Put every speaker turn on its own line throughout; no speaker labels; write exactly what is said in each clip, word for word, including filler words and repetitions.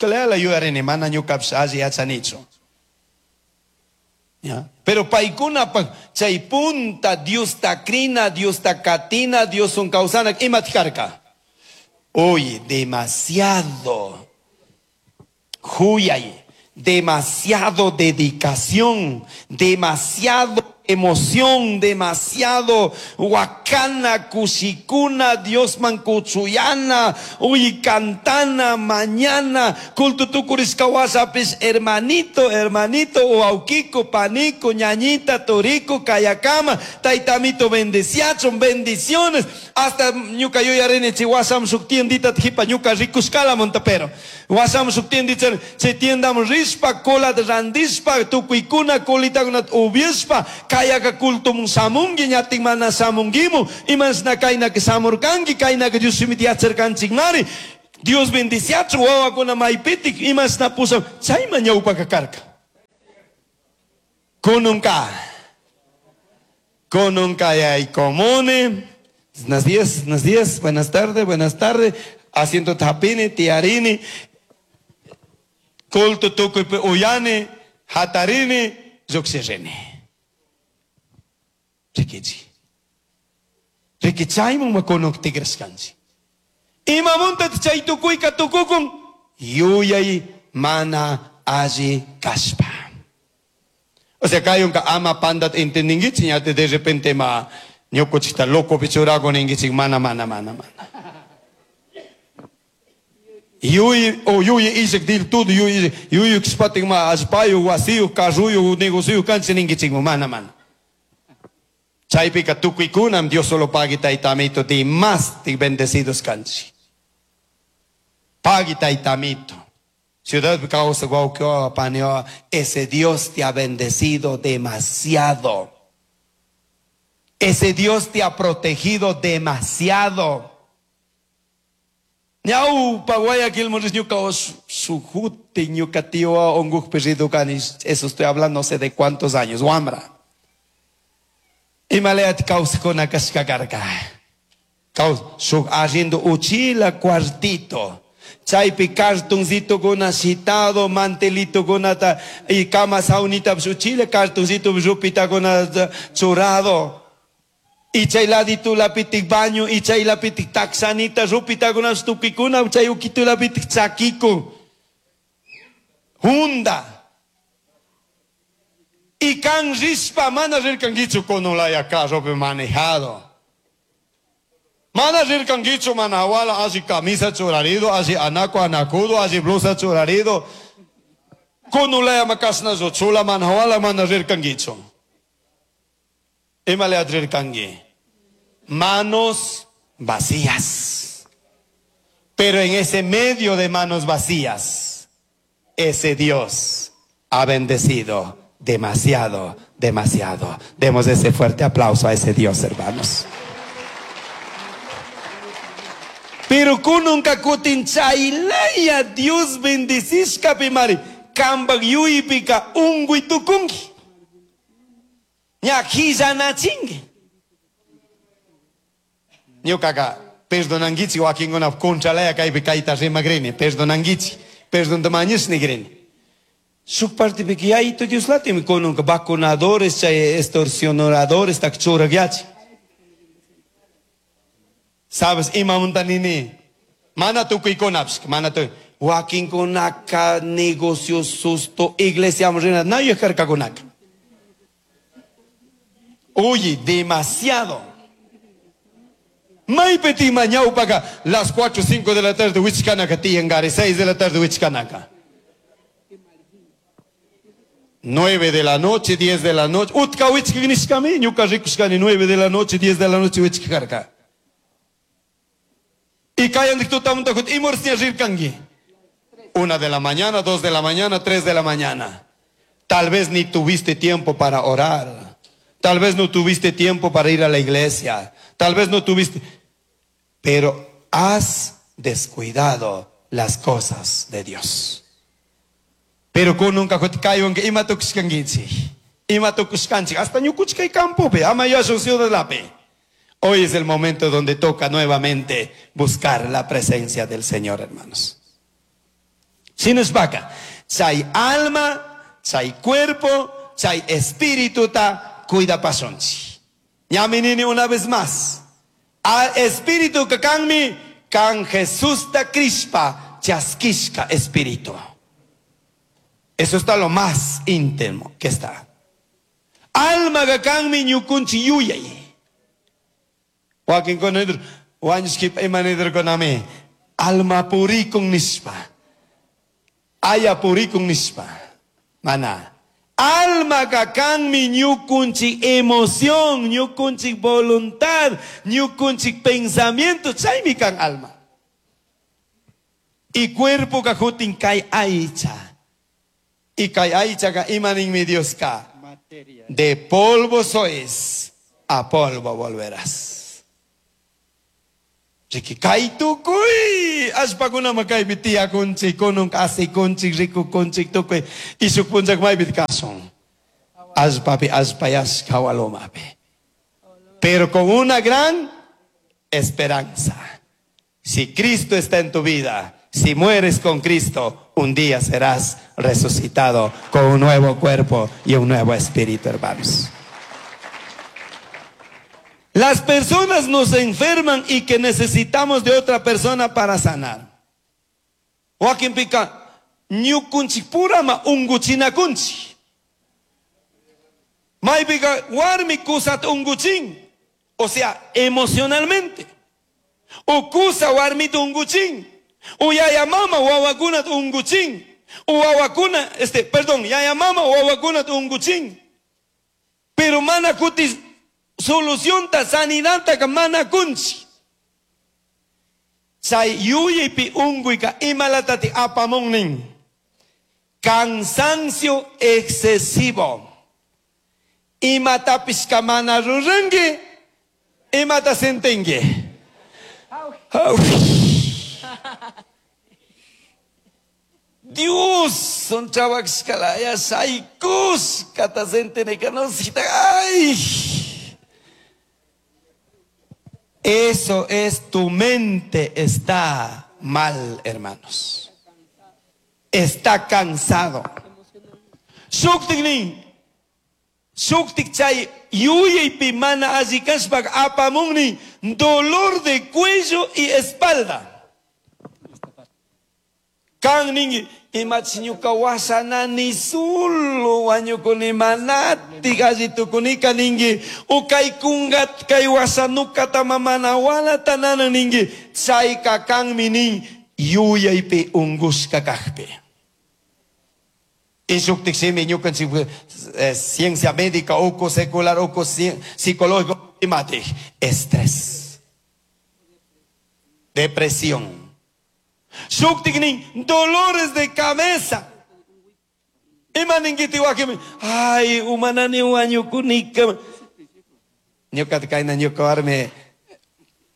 Clayala yuyarini mana ñukapish alli yachanichu. ¿Ya? Pero paykunapaq chay punta Diosta crina, Diosta katina, Dioswan kawsana imataq karka? Uy, demasiado huyay, demasiado dedicación, demasiado emoción, demasiado huacana, kushikuna, Diosman kuchuyana, uy, cantana, mañana, culto tukurishka washapish, hermanito, hermanito, waukiku, paniku, ñañita, turiku, kayakama, taytamito bendeciachun, bendiciones, hasta ñuka yuyarini chay washam shuk tiendita jipa ñuka rikushkalamunta pero washam shuk tiendita chay tiendaman rishpa colata randishpa tukuykuna colitakunata upiashpa kayaka cultomun shamunki ñatin mana shamunkimu imashna kaynaka shamurkanki kaynaka Dios shimita yacharkanchikmari Dios bendiciachun wawakuna maypitik imashna pushan chayman ñawpaka karka. Kununka kununka yaykumuni. Buenos días, buenos días, buenas tardes, buenas tardes. Asiento tapini, tiarini, culto tukuypi uyani, hatarini, llukshirini. Rikichi. Riki chayman kunuk tikrashkanchik. Imamunta chay tukuyka tukukun? Yuyay mana alli kashpa. O sea, kayunka ama pandat entendingichik, ñate de repente ma ñukuchikta loco pichurago ningichik, mana, mana, mana, mana. Yuy, o yuy isik dil todo, yuy, yuy kspatik ma allpayu, wasiyu, carruyu, negociyu kanchi ningichik, mana, mana. Chaypika tukuykunam Dios solo pagui taytamito di más bendecidos kanchi. Pagui taytamito. Ciudad causa guauquioa, panioa, ese Dios te ha bendecido demasiado. Ese Dios te ha protegido demasiado. Ñawpa Guayaquil ñuka sujuti ñuka tío onguj perrido kani, eso estoy hablando no sé de cuántos años, wambra. Imaleat kawsakuna kashka karka. Kaus shuk arriendo uchila cuartito. Chaypi cartoncito kuna shitado, mantelito kunata y cama saunita uchila cartoncito rupita kuna churado. Y chay ladito lapitik baño, y chay lapitik taxanita, rupita kuna tukikuna, chay ukito lapitik chakiko. Hunda. Y kan rispa, mana rirkangichu kunulaya carro manejado. Mana rirkangichu manawala, así camisa churarido, así anaco anacudo, así blusa churarido. Kunulaya makasna chula manawala, mana rirkangichu. Imale adrirkangi. Manos vacías. Pero en ese medio de manos vacías, ese Dios ha bendecido demasiado, demasiado. Demos ese fuerte aplauso a ese Dios, hermanos. Pero kununka kutin chaylaya Dios bendicishka pimari. Kambak yuypika ungui tukunki. Ña hillanachinki. Ñukaka perdonankichik wakinkuna contralaya kaypi kayta rimagrini, perdonankichik, perdonta nigrini. Shuk partipika yayito Dioslatimi kununka vacunadores, chay extorsionadores tak churagyachi. Sabes, imamunta nini? Mana tukuykunapish, mana tukuy. Wakinkunaka negocio susto, iglesia rina, nadie karkakunaka. Oye, demasiado. Maypiti mañaupaka, las cuatro, cinco de la tarde, wichkanaka, tiyangari, seis de la tarde, wichkanaka. Nueve de la noche, diez de la noche. Utka wichkanishkami, ñuka rikushkani, nueve de la noche, diez de la noche, wichkarka. Y kayan dictutamuntakut, imorsia rirkangi. Una de la mañana, dos de la mañana, tres de la mañana. Tal vez ni tuviste tiempo para orar. Tal vez no tuviste tiempo para ir a la iglesia. Tal vez no tuviste. Pero has descuidado las cosas de Dios. Pero kununka kayonka ima tukushkankichik. Ima tukushkanchik. Hasta ñukuchkay campopi, ama yashun ciudad-lapi. Hoy es el momento donde toca nuevamente buscar la presencia del Señor, hermanos. Shinashpaka chay alma, chay cuerpo, chay espirituta cuidapashunchik. Ñami nini una vez más. Al espíritu que kanmi kan Jesusta crishpa chaskishka espíritu. Eso está lo más íntimo que está. Alma kanmi ñukunchi yuyay. Wakinkuna wañushkipa ima nirkunami alma purikun nishpa. Aya purikun nishpa. Mana. Alma kanmi ñukunchik emoción, ñukunchik voluntad, ñukunchik pensamiento, chaymi kan alma. Y cuerpo kajutin kay aycha. Y kay aycha ka imaninmi Dios ka.
Materia.
De polvo sois, a polvo volverás. Riki kay tukuy allpakunama kaypi tiyakunchik, kunun asikunchik, rikukunchik tukuy y shuk punchak maypi kasun. Allpapi allpayashka hawalumapi. Pero con una gran esperanza. Si Cristo está en tu vida, si mueres con Cristo, un día serás resucitado con un nuevo cuerpo y un nuevo espíritu, hermanos. Las personas nos enferman y que necesitamos de otra persona para sanar. Wakinpika, ñukunchik purama unguchinakunchik. Maypika warmi kusata unguchin, o sea, emocionalmente. O kusa warmita unguchin. O yaya mama wawakunata unguchin. O wawakuna, este, perdón, yaya mama wawakunata unguchin. Pero mana kutis solución ta sanidad ta mana kunchi. Chay yuyaypi unguyka imalatati apamunnin. Cansancio excesivo. Imatapis mana ruranki, imata sentinki. Dios, son chavaskalaya shaykus kata sentene no ay. Eso es, tu mente está mal, hermanos. Está cansado. Shuktiknin, shuktik chay yuyaypi mana alli kashpak apamunni dolor de cuello y espalda. Kan ningi imachi ñuka wasanani sulu wañukuni manati alli tukunika ningi o kay kungat kay wasanukata mamana walata nana ningi chayka kanmi nin yuyaypi ungushka kajpi. Shuktik simi ñukanchik ciencia médica uku secular uku psicológico imatij estrés, depresión. Shuktiknin dolores de cabeza. Ima ninguiti wakimi ay umanani wañukunika. Ñuka kayna ñuka warmi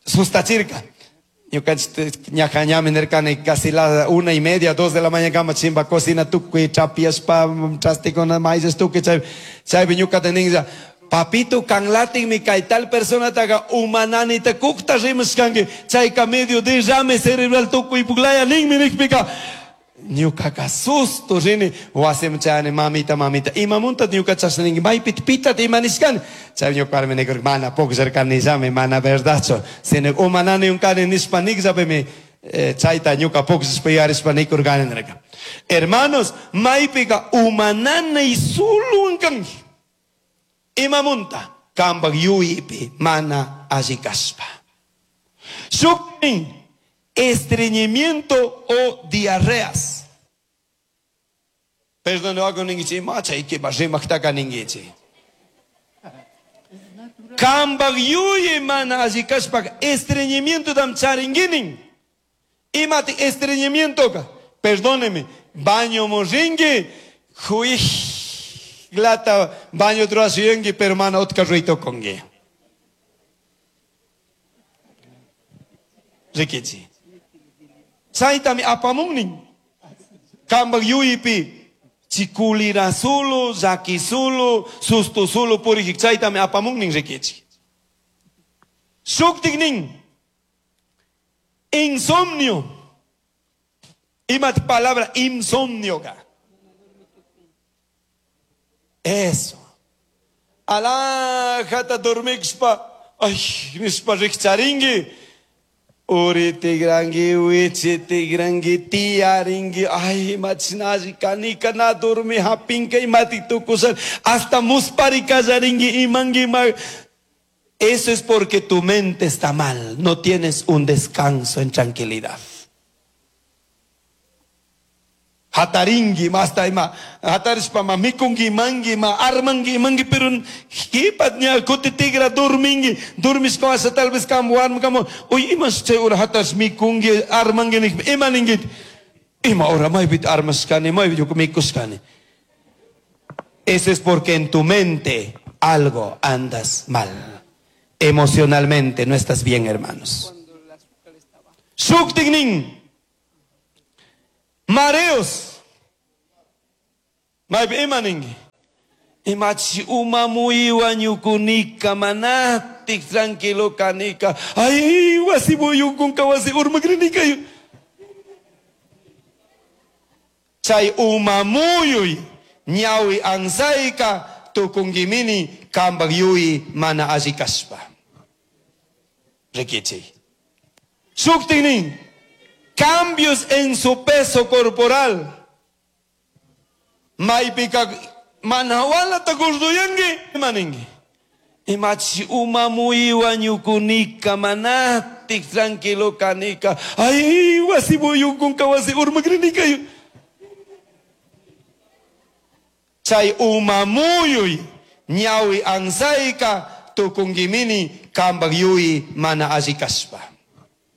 sustachirka. Ñuka ñajañami nirkani casi la una y media, dos de la mañana kama chimba cocina tukuy chapiashpa chastikuna maíz tukuy chay chaypi ñuka teninlla papito kanlatinmi kay tal persona taga umanani ta kukta rimashkanki chayka medio derrame cerebral tukuy puklaya ninmi nikpika ñukaka susto rini wasiman chayani mamita mamita imamunta ñuka chashna ninki maypita pitata ima nishkani chay ñuka warmi nikurka mana pukllarkanillami mana verdadchu sino umanani unkani nishpa nikllapimi chayta ñuka pukllashpa yuyarishpa nikurkani nirka. Hermanos, maypika umananay suluwan kanki. Imamunta kampak yuyaypi mana alli kashpa. Shuknin estreñimiento o diarreas. Perdón, no hago ninguichi, macha y que rimaktaka ninguichi. Kampak yuyay mana alli kashpa estreñimiento dam charinguinin. Imati estreñimiento ka. Perdóneme, baño morringue, juij. Glata baño truasiengi, pero mana otka ruito kongi. Rikichi. Chaytami apamunnin. Kampak yuyaypi chikulira sulu, llaki sulu, susto sulu purijik chaytami apamunnin rikichi. Shuktiknin insomnio. Ima palabra insomnio ka. Eso. Alajata dormishpa, ay, nishpa rikcharingi. Uri tigrangi, wichi tigrangi, tiyaringi, ay, machinashi kanika na dormi hapinka imati tukushan, hasta muspari kallaringi, imangi ma. Eso es porque tu mente está mal, no tienes un descanso en tranquilidad. Hataringi, masta ima, hatarishpa ma mikungi, mangi, ma armangi, mangi, pero hipat ña kuti tigra dormingi, dormishpa wasa tal vez kam warm kamo, uy imas chay ura hatash mikungi, armangi, nik, ima ningit, ima ora maybit armashkani, maybit mikushkani. Eso es porque en tu mente algo andas mal. Emocionalmente no estás bien, hermanos. Shuktignin. Mareos. Maypi ima ninki. Imachi uma muyuwan ñukunika manatik tranquilo kanika. Ay, wasi muyunkunka wasi urmakrinika. Chay uma muyuy ñawi ansayka tukungimini kambak yuyi mana alli kashpa. Rikichi. Shuktignin. Cambios en su peso corporal. Maypika manawala tagurduyangi maningi. Imachi uma muyuwan ñukunika manatik tranquilo kanika. Ay, wasi muyunkunka wasi urmakrinika. Chay uma muyuy ñawi ansayka tukungimini kambak yuyi mana alli kashpa.